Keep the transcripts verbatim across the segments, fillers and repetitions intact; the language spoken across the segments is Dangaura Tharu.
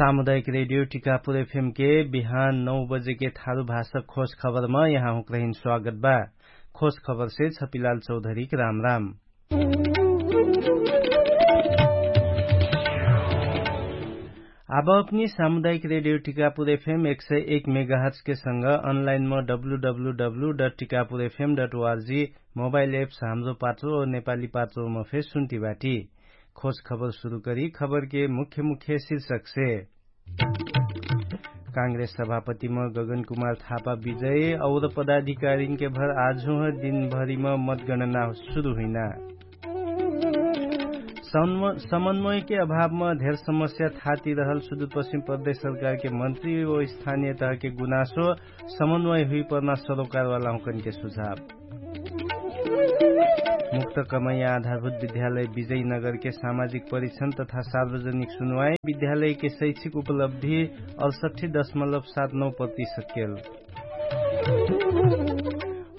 सामुदायिक रेडियो टिकापुर एफएम के बिहान नौ बजे के थारु भाषा खोज खबरमा यहाँ हुँक्रहिन स्वागत बा। खोज खबर से छपिलाल चौधरी के राम राम। आब अपनी सामुदायिक रेडियो टिकापुर एफएम एक सय एक मेगाहर्च के संग अनलाइन म W W W dot Tikapur FM dot ORG mobile apps Hamro Patro और नेपाली पात्रो म फेर सुन्ती बाटी। खोज खबर सुरु करी खबर के मुख्य मुख्य शीर्षक से। कांग्रेस सभापति म गगन कुमार थापा विजय और पदाधिकारीन के भर आजु ह दिनभरी म मतगणना सुरु हुइना। समन्वय के अभाव म धेर समस्या थाती रहल सुदूरपश्चिम प्रदेश सरकार के मन्त्री ओ स्थानीय तह के गुनासो समन्वय हुइ पर्ना सरोकारवाला हुँकन के सुझाव। मुक्त कमैया आधारभूत विद्यालय विजयनगर के सामाजिक परिक्षण तथा सार्वजनिक सुनवाई विद्यालय के शैक्षिक उपलब्धि अडसठी दशमलव सात नौ प्रतिशत केल।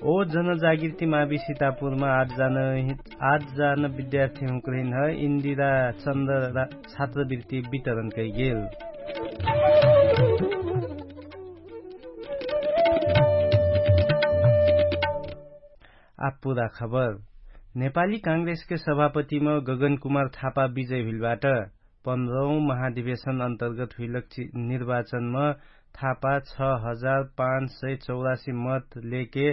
ओ जनजागृति मावि सितापुरमा आठ जान आठ जान विद्यार्थी हुँक्रिन ह इन्दिरा चन्द्र छात्रवृत्ति वितरण कैगेल। आपुरा खबर। नेपाली कांग्रेसके सभापतिम गगन कुमार थापा विजय हुइलबाट पन्ध्रौं महाधिवेशन अन्तर्गत हुइलक निर्वाचनम थापा छ हजार पाँच सय चौरासी मत लेके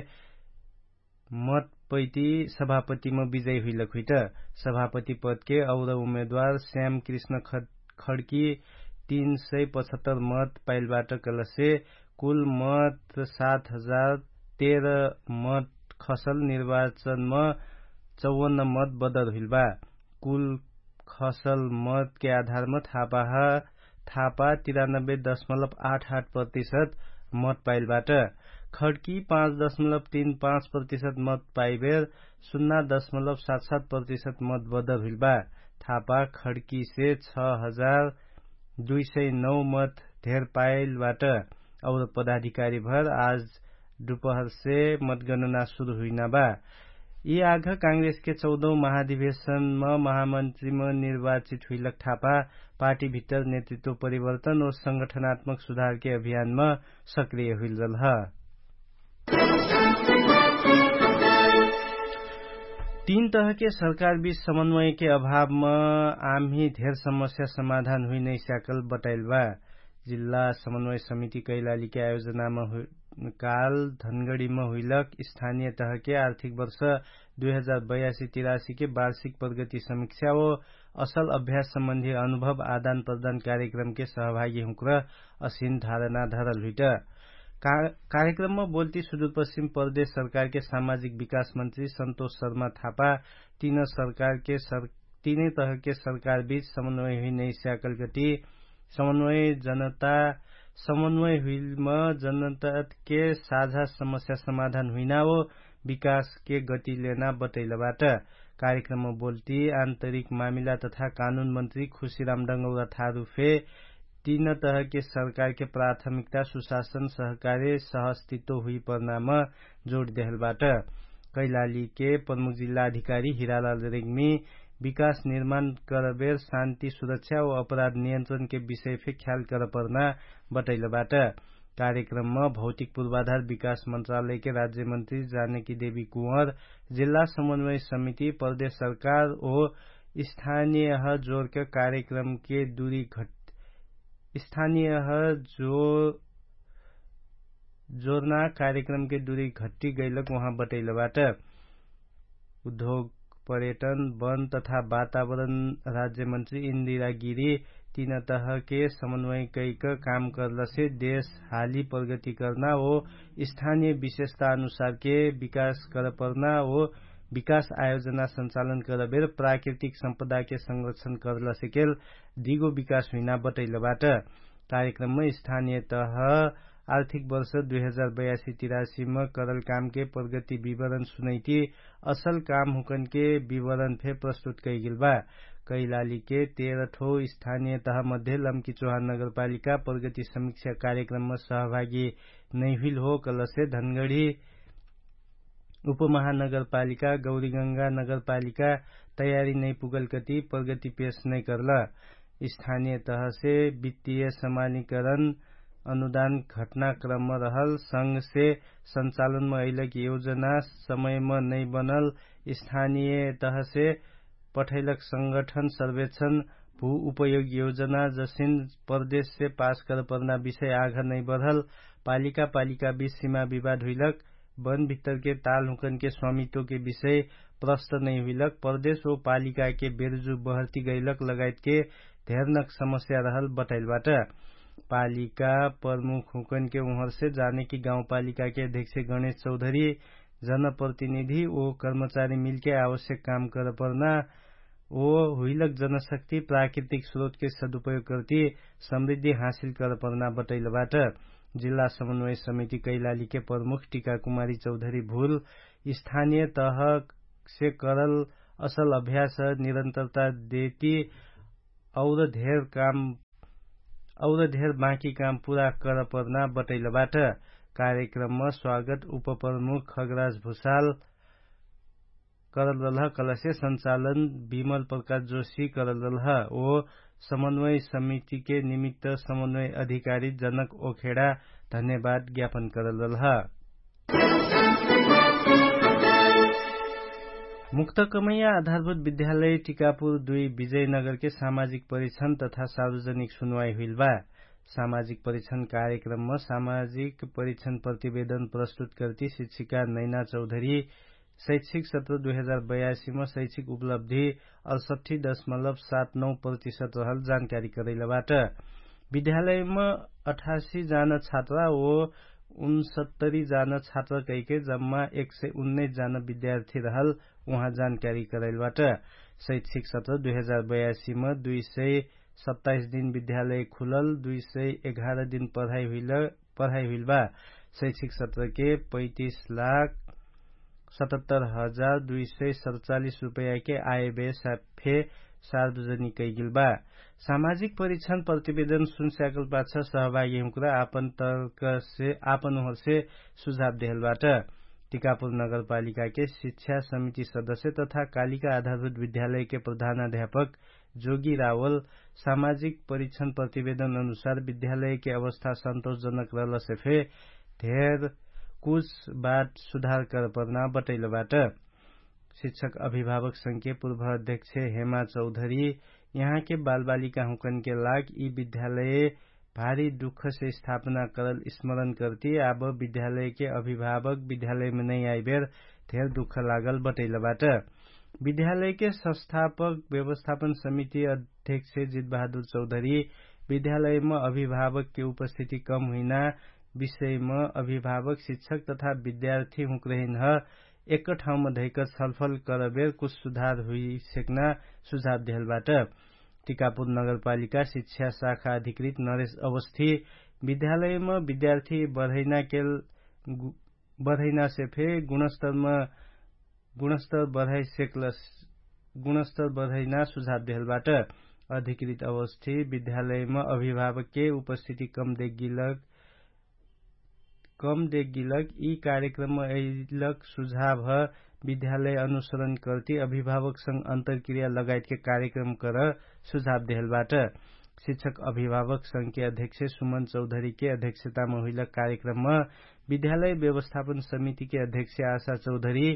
मत पैति सभापतिम विजय हुइलक हुइट। सभापति पदके और उम्मेदवार श्याम कृष्ण खड्की तीन सय पचहत्तर मत पाइलबाट कलसे कुल मत सात हजार तेह्र मत खसल निर्वाचनम चौवन्न मत बदर हुइलबा। कुल खसल मतके आधारम थापाह थापा तिरानब्बे दशमलव आठ आठ प्रतिशत मत पाइलबाट। खड्की पाँच दशमलव तीन पाँच प्रतिशत मत पाइबेर सुन्ना दशमलव सात सात प्रतिशत मत बदर हुइलबा। थापा खड्कीसे छ हजार दुई सय नौ मत धेर पाइलबाट। और पदाधिकारी भर आज दुपहरसे मतगणना सुरु हुइना बा। यि आघ कांग्रेसके चौधौं महाधिवेशनम महामन्त्रीम निर्वाचित हुइलक थापा पार्टीभित्तर नेतृत्व परिवर्तन और संगठनात्मक सुधारके अभियानम सक्रिय हुइलरल ह। तीन तहके सरकारबीच समन्वयके अभावम आम्ही धेर समस्या समाधान हुइनैस्याकल बटाइलबा। जिल्ला समन्वय समिति कैलालीके आयोजनाम काल धनगढीम हुइलक स्थानिय तहके आर्थिक वर्ष दुई हजार बयासी तिरासीके वार्षिक प्रगति समिक्षा ओ असल अभ्यास सम्बन्धी अनुभव आदान प्रदान कार्यक्रमके सहभागी हुँक्र असिन धारणा धरल हुइट। कार्यक्रमम बोल्ती सुदूरपश्चिम प्रदेश सरकारके सामाजिक विकास मन्त्री सन्तोष शर्मा थापा तीन सरकारके तीनै तहके सरकारबीच समन्वय हुइनैस्याकलगटी समन्वय जनता समन्वय हुइलम जनताके साझा समस्या समाधान हुइना ओ विकासके गति लेना बटैलबाट। कार्यक्रमम बोल्ती आन्तरिक मामिला तथा कानुन मन्त्री खुशीराम डङ्गौरा थारुफे तीन तहके सरकारके प्राथमिकता सुशासन सहकारे सहस्तित्व हुइपर्नाम जोड देहलबाट। कैलालीके प्रमुख जिल्ला अधिकारी हिरालाल रेग्मी विकास निर्माण करबेर शान्ति सुरक्षा ओ अपराध नियन्त्रणके विषयफे ख्याल करपर्ना बटैलबाट। कार्यक्रमम भौतिक पूर्वाधार विकास मन्त्रालयके राज्यमन्त्री जानकी देवी कुँवर, जिल्ला समन्वय समिति प्रदेश सरकार ओ स्थानियह जोरके कार्यक्रमके दुरी घट स्थानियह जो जोर्ना कार्यक्रमके दुरी घट्टी गैलक उहाँ बटैलबाट। उद्योग पर्यटन वन तथा वातावरण राज्यमन्त्री इन्दिरा गिरी तीन तहके समन्वय कैक काम कर्लसे देश हाली प्रगति कर्ना ओ स्थानिय विशेषता अनुसारके विकास करपर्ना ओ विकास आयोजना सञ्चालन करबेर प्राकृतिक सम्पदाके संरक्षण कर्लसेकेल दिगो विकास हुइना बटैलबाट। कार्यक्रमम स्थानिय तह आर्थिक वर्ष दुई हजार बयासी तिरासीम करल कामके प्रगति विवरण सुनैति असल काम हुँकनके विवरण फे प्रस्तुत कैगेल बा। कैलालीके तेह्र ठो स्थानिय तह मध्ये लम्की चोहान नगरपालिका प्रगति समिक्षा कार्यक्रमम सहभागी नैहुइल हो कलसे धनगढी उपमहानगरपालिका गौरीगङ्गा नगरपालिका तयारी नैपुगलकति प्रगति पेश नैकर्ल। स्थानिय तहसे वित्तिय समानिकरण अनुदान घटनाक्रम रहल संगसे सञ्चालनम अइलक योजना समयम नै बनल स्थानिय तहसे पठैलक संगठन सर्वेक्षण भू उपयोग योजना जसिन प्रदेशसे पास करपर्ना विषय आघ नै बढल पालिका पालिका बिच सिमा विवाद हुइलक वन भित्तरके ताल हुँकनके स्वामित्वके विषय प्रष्ट नै हुइलक प्रदेश ओ पालिकाके बेरुजु बहर्ती गैलक लगायतके धेरनक समस्या रहल बटैलबाट। पालिका प्रमुख हुँकनके उहरसे जानेकी गाउँपालिकाके अध्यक्ष गणेश चौधरी जनप्रतिनिधि ओ कर्मचारी मिलके आवश्यक काम करपर्ना ओ हुइलक जनशक्ति प्राकृतिक स्रोतके सदुपयोग करती समृद्धि हासिल करपर्ना बटैलबाट। जिल्ला समन्वय समिति कैलालीके प्रमुख टिकाकुमारी चौधरी भुल स्थानिय तहसे करल असल अभ्यास निरन्तरता देती और धेर काम और धेर बाँकी काम पुरा करपर्ना बटैलबाट। कार्यक्रमम स्वागत उपप्रमुख खगराज भुसाल करल रलह कलसे सञ्चालन विमल प्रकाश जोशी करल रलह ओ समन्वय समितिके निमित्त समन्वय अधिकारी जनक ओखेडा धन्यवाद ज्ञापन करल रलह। मुक्त कमैया आधारभूत विद्यालय टिकापुर दुई विजयनगरके सामाजिक परीक्षण तथा सार्वजनिक सुनवाई हुइल बा। सामाजिक परीक्षण कार्यक्रमम सामाजिक परीक्षण प्रतिवेदन प्रस्तुत करती शिक्षिका नैना चौधरी शैक्षिक सत्र दुई हजार बयासीम शैक्षिक उपलब्धि अडसट्ठी दशमलब सात नौ प्रतिशत रहल जानकारी करैलबाट। विद्यालयम अठासी जान छात्रा ओ उनसत्तरी जान छात्रा कैके जम्मा एक सय उन्नैस जान विद्यार्थी रहल उहाँ जानकारी करैलबाट। शैक्षिक सत्र दुई हजार बयासीम दुई सय सत्ताइस दिन विद्यालय खुलल दुई सय एघार दिन पढाइ हुइल बा। शैक्षिक सत्रके पैतिस लाख सतहत्तर हजार दुई सय सतचालिस रुपैयाके आयबे फे सार्वजनिक कैगिल बा। सामाजिक परीक्षण प्रतिवेदन सुनस्याकल पाछ सहभागी हुँक्रा आपन तर्कसे आपन उहरसे सुझाव देहलबाट। टिकापुर नगरपालिकाके शिक्षा समिति सदस्य तथा कालिका आधारभूत विद्यालयके प्रधानाध्यापक जोगी रावल सामाजिक परीक्षण प्रतिवेदन अनुसार विद्यालयके अवस्था सन्तोषजनक रहलसे फे धेर कुछ बाट सुधार करपर्ना बटैलबाट। शिक्षक अभिभावक संघके पूर्व अध्यक्ष हेमा चौधरी यहाँके बालबालिका हुँकनके लाग यि विद्यालय भारी दुःखसे स्थापना करल स्मरण करती आब विद्यालयके अभिभावक विद्यालयमे नै आइबेर धेर दुःख लागल बटैलबाट। विद्यालयके संस्थापक व्यवस्थापन समिति अध्यक्ष जितबहादुर चौधरी विद्यालयम अभिभावकके उपस्थिति कम हुइना विषयम अभिभावक शिक्षक तथा विद्यार्थी हुँक्रहिनह एक ठाउँम धैक छलफल करबेर कुछ सुधार हुइसेक्ना सुझाव देहलबाट। टिकापुर नगरपालिका शिक्षा शाखा अधिकृत नरेश अवस्थी विद्यालयम विद्यार्थी बढैनाके बढैनासे फे गुणस्तरम गुणस्तर बढाइसेक्लस गुणस्तर बढाइना सुझाव देहलबाट। अधिकृत अवस्थी विद्यालयम अभिभावकके उपस्थिति कम देखगिलक कम देखगिलक यि कार्यक्रम अइलक सुझाव ह विद्यालय अनुसरण करती अभिभावकसँग अन्तरक्रिया लगायतके कार्यक्रम कर सुझाव देहलबाट। शिक्षक अभिभावकसँगके अध्यक्ष सुमन चौधरीके अध्यक्षतामा हुइलक कार्यक्रममा विद्यालय व्यवस्थापन समितिके अध्यक्ष आशा चौधरी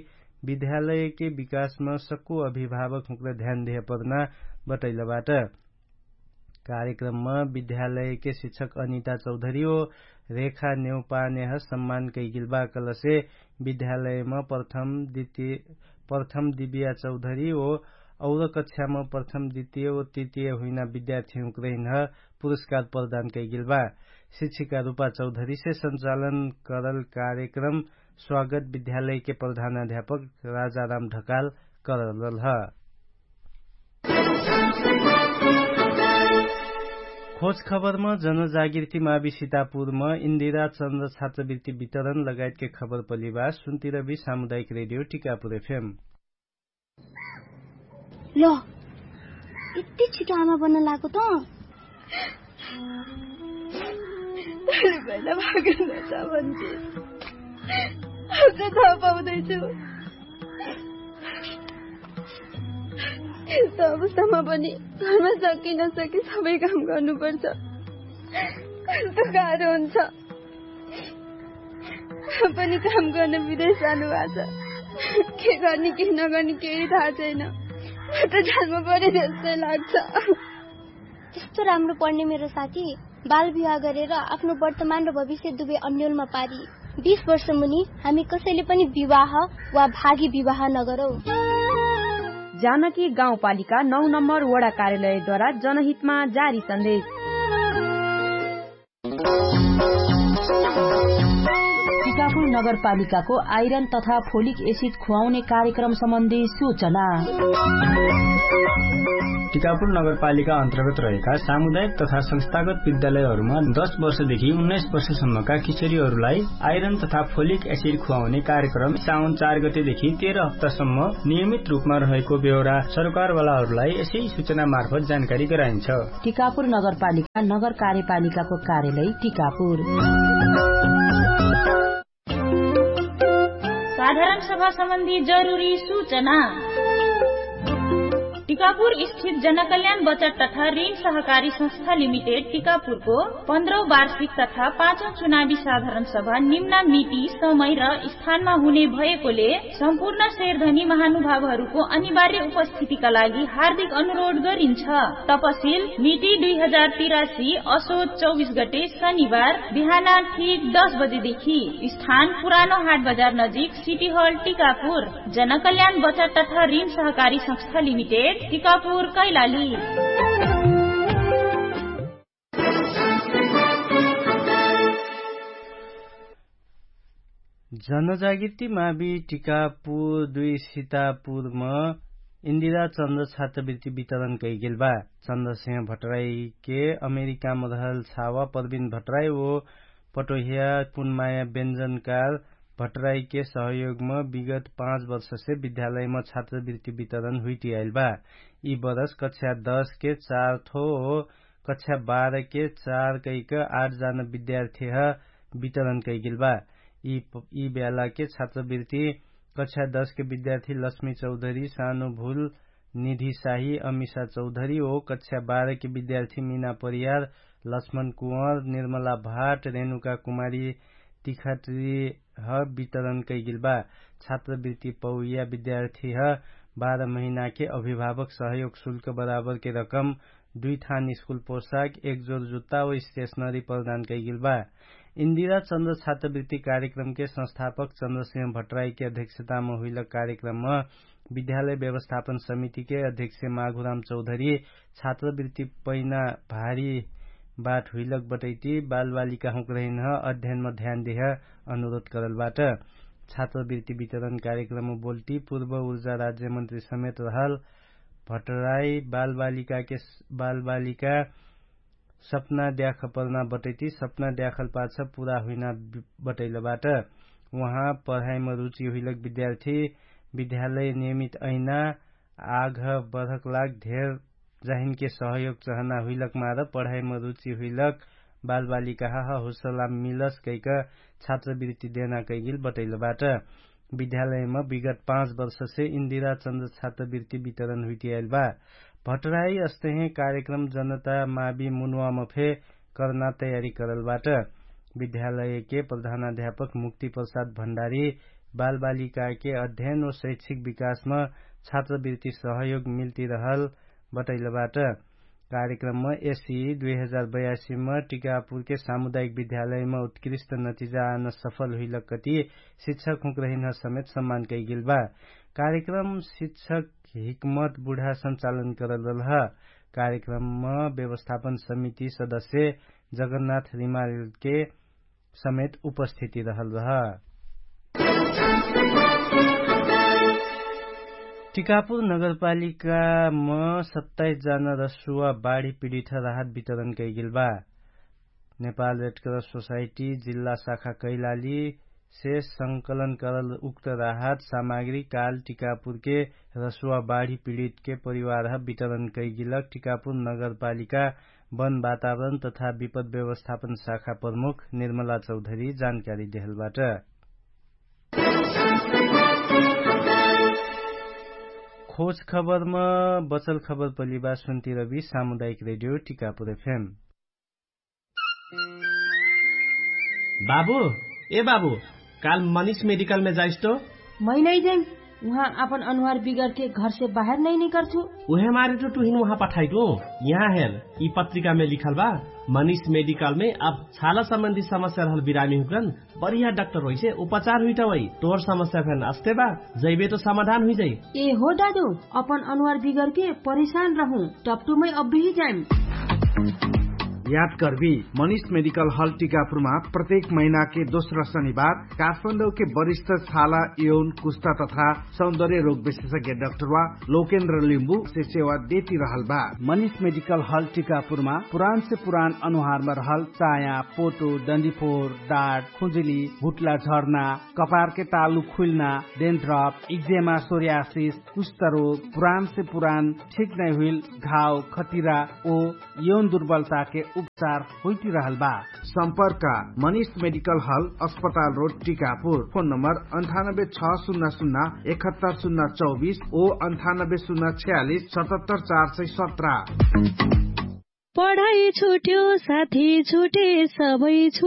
विद्यालयके विकासमा सक्कु अभिभावक हुँक्र ध्यान देहपर्ना बटैलबाट। कार्यक्रममा विद्यालयके शिक्षक अनिता चौधरी ओ रेखा नेउपानेह सम्मान कैगिलबा कलसे विद्यालयमा प्रथम दितिय प्रथम दिव्या चौधरी ओ और कक्षामा प्रथम दितिय ओ तितिय हुइना विद्यार्थी हुँक्र हिन्ह पुरस्कार प्रदान कैगिलबा। शिक्षिका रुपा चौधरीसे सञ्चालन करल कार्यक्रम स्वागत विद्यालयके प्रधानाध्यापक राजाराम ढकाल करललह। खोज खबरम जनजागृति मावि सितापुरम इन्दिरा चन्द्र छात्रवृत्ति वितरण लगायतके खबर पलिबा सुन्तिरबि सामुदायिक रेडियो टिकापुर एफएम। लो, यति छिटो आमा बन्न लागो त? यस्तो अवस्थामा पनि घरमा सकिन सके सबै काम गर्नुपर्छ। कस्तो गाह्रो हुन्छ। पनि काम गर्न विदेश जानुभएको छ। के गर्ने के नगर्ने केही थाहा छैन। म त जान्नु पर्यो जस्तै लाग्छ। त्यस्तो राम्रो पढ्ने मेरो साथी बाल विवाह गरेर आफ्नो वर्तमान र भविष्य दुवै अन्यलमा पारी। बिस वर्ष मुनि हामी कसैले पनि विवाह वा भागी विवाह नगरौँ। जानकी गाउँपालिका नौ नम्बर वडा कार्यालयद्वारा जनहितमा जारी सन्देश। टिकापुर नगरपालिकाको आइरन तथा फोलिक एसिड खुवाउने कार्यक्रम सम्बन्धी सूचना। टिकापुर नगरपालिका अन्तर्गत रहेका सामुदायिक तथा संस्थागत विद्यालयहरूमा दस वर्षदेखि उन्नाइस वर्षसम्मका किशोरीहरूलाई आइरन तथा फोलिक एसिड खुवाउने कार्यक्रम साउन चार गतेदेखि तेह्र हप्तासम्म नियमित रूपमा रहेको बेहोरा सरकारवालाहरूलाई यसै सूचना मार्फत जानकारी गराइन्छ। टिकापुर नगरपालिका नगर कार्यपालिकाको कार्यालय टिकापुर। साधारण सभा सम्बन्धी जरुरी सूचना। टिकापुर स्थित जनकल्याण बचत तथा ऋण सहकारी संस्था लिमिटेड टिकापुरको पन्ध्रौ वार्षिक तथा पाँचौं चुनावी साधारण सभा निम्ना मिति समय र स्थानमा हुने भएकोले सम्पूर्ण शेरधनी महानुभावहरूको अनिवार्य उपस्थितिका लागि हार्दिक अनुरोध गरिन्छ। तपसिल मिति दुई हजार तिरासी असोज चौबिस गते शनिबार बिहान ठिक दस बजेदेखि। स्थान पुरानो हाट बजार नजिक सिटी हल टिकापुर। जनकल्याण बचत तथा ऋण सहकारी संस्था लिमिटेड टिकापुर कैलाली। जनजागृति मावि टिकापुर दुई सितापुरम इन्दिरा चन्द्र छात्रवृत्ति वितरण कैगेल बा। चन्द्रसिंह भट्टराईके अमेरिकाम रहल छावा प्रविन भट्टराई ओ पटोहिया पुनमाया व्यञ्जनकार भट्टराईके सहयोगम विगत पाँच वर्षसे विद्यालयम छात्रवृत्ति वितरण हुइटियाइल बा। यि बरस कक्षा दसके चार थो ओ कक्षा बाह्रके चार कैक आठ जान विद्यार्थीह वितरण कैगेल बा। यि बेलाके छात्रवृत्ति कक्षा दसके विद्यार्थी लक्ष्मी चौधरी सानो भुल निधि साही अमिशा चौधरी ओ कक्षा बाह्रके विद्यार्थी मिना परियार लक्ष्मण कुँवर निर्मला भाट रेणुका कुमारी तिखट्रीह वितरण कैगेल बा। छात्रवृत्ति पौया विद्यार्थीह बाह्र महिनाके अभिभावक सहयोग शुल्क बराबरके रकम दुई थान स्कुल पोशाक एक जोर जुत्ता ओ स्टेशनरी प्रदान कैगेल बा। इन्दिरा चन्द्र छात्रवृत्ति कार्यक्रमके संस्थापक चन्द्रसिंह भट्टराईके अध्यक्षताम हुइलक कार्यक्रमम विद्यालय व्यवस्थापन समितिके अध्यक्ष माघुराम चौधरी छात्रवृत्ति पैना भारी बाट हुइलक बटैती बालबालिका हुँकरहिनह अध्ययनम ध्यान देह अनुरोध करल बाट। छात्रवृत्ति वितरण कार्यक्रमम बोल्टी पूर्व उर्जा राज्यमन्त्री समेत रहल भट्टराई बालबालिकाके बालबालिका सपना द्याखपरना बटैती सपना द्याखल पाछ पुरा हुइना बटैलबाट। उहाँ पढाइम रुचि हुइलक विद्यार्थी विद्यालय नियमित अइना आघ बढक लाग धेर जाहिनके सहयोग चहना हुइलक मार पढाइम रुचि हुइलक बालबालिकाह हुसला मिलस कैक छात्रवृत्ति देना कैगिल बटैलबाट। विद्यालयम विगत पाँच वर्षसे इन्दिरा चन्द्र छात्रवृत्ति वितरण हुइटियाइल बा। भट्टराई अस्तहे कार्यक्रम जनता मावि मुनुवाम फे करना तयारी करलबाट। विद्यालयके प्रधानाध्यापक मुक्ति प्रसाद भण्डारी बालबालिकाके अध्ययन ओ शैक्षिक विकासम छात्रवृत्ति सहयोग मिल्ति रहल बटैलबाट। कार्यक्रमम एसी दुई हजार बयासीम टिकापुरके सामुदायिक विद्यालयम उत्कृष्ट नतिजा आन सफल हुइलक कति शिक्षक हुँक्रहिनह समेत सम्मान कैगेल बा। कार्यक्रम शिक्षक हिक्मत बुढा सञ्चालन करल रलह। कार्यक्रमम व्यवस्थापन समिति सदस्य जगन्नाथ रिमालके समेत उपस्थिति रहल रह। टिकापुर नगरपालिकाम सत्ताइस जान रसुवा बाढी पिडित राहत वितरण कैगेल बा। नेपाल रेडक्रस सोसाइटी जिल्ला शाखा कैलाली से संकलन करल उक्त राहत सामाग्री काल टिकापुरके रसुवा बाढी पिडितके परिवारह वितरण कैगिलक टिकापुर नगरपालिका वन वातावरण तथा विपद व्यवस्थापन शाखा प्रमुख निर्मला चौधरी जानकारी देहलबाट। खोज खबरमा बचल खबर पलिबा सुन्ती रबी सामुदायिक रेडियो टिकापुर एफएम। बाबु, ए बाबु, काल मनिष मेडिकलमे जाइस तो? मै नै जैम। उहाँ आपन अनुहार बिगरके घरसे बाहेर नै निकर्छु। उहे मारे तो टुहिन उहाँ पठाइटु। यहाँ हेर, यि पत्रिकामे लिखल बा, मनिष मेडिकलमे अब छाला सम्बन्धी समस्या रहल बिरामी हुकरन बढिया डाक्टर होइसे उपचार हुइटा वै। तोर समस्या फेन अस्ते बा, जैबे तो समाधान हुइजाइ। ए हो दादु, अपन अनुहार बिगरके परेशान रहु, टपटुमै अब्बेही जाइम। याद कर्बी, मनिष मेडिकल हल टिकापुरमा प्रत्येक महिनाके दोस्रा शनिबार काठमाडौके वरिष्ठ छाला यौन कुस्ता तथा सौन्दर्य रोग विशेषज्ञ डाक्टरवा लोकेन्द्र लिम्बु से सेवा देती रहल बा। मनिष मेडिकल हल टिकापुरमा पुरान से पुरान अनुहारमा रहल चाया, पोटो, डन्डीफोर, डाट, खुजुली, हुट्ला झर्ना, कपारके तालु खुइल्ना, डेन्ट्रप, इक्जेमा, सोर्यासिस, कुष्ठरोग, पुरान से पुरान ठिक नै हुइल घाव, खतिरा ओ यौन दुर्बलताके उपचार होइतिरहल बा। सम्पर्क मनिष मेडिकल हल, अस्पताल रोड टिकापुर। फोन नम्बर अन्ठानब्बे छ सुन्ना सुन्ना एकहत्तर सुन्ना चौबिस ओ अन्ठानब्बे सुन्ना छ्यालिस सतहत्तर चार सय सत्र। पढाइ छुट्यो साथी छुटे सबै छुट्यो।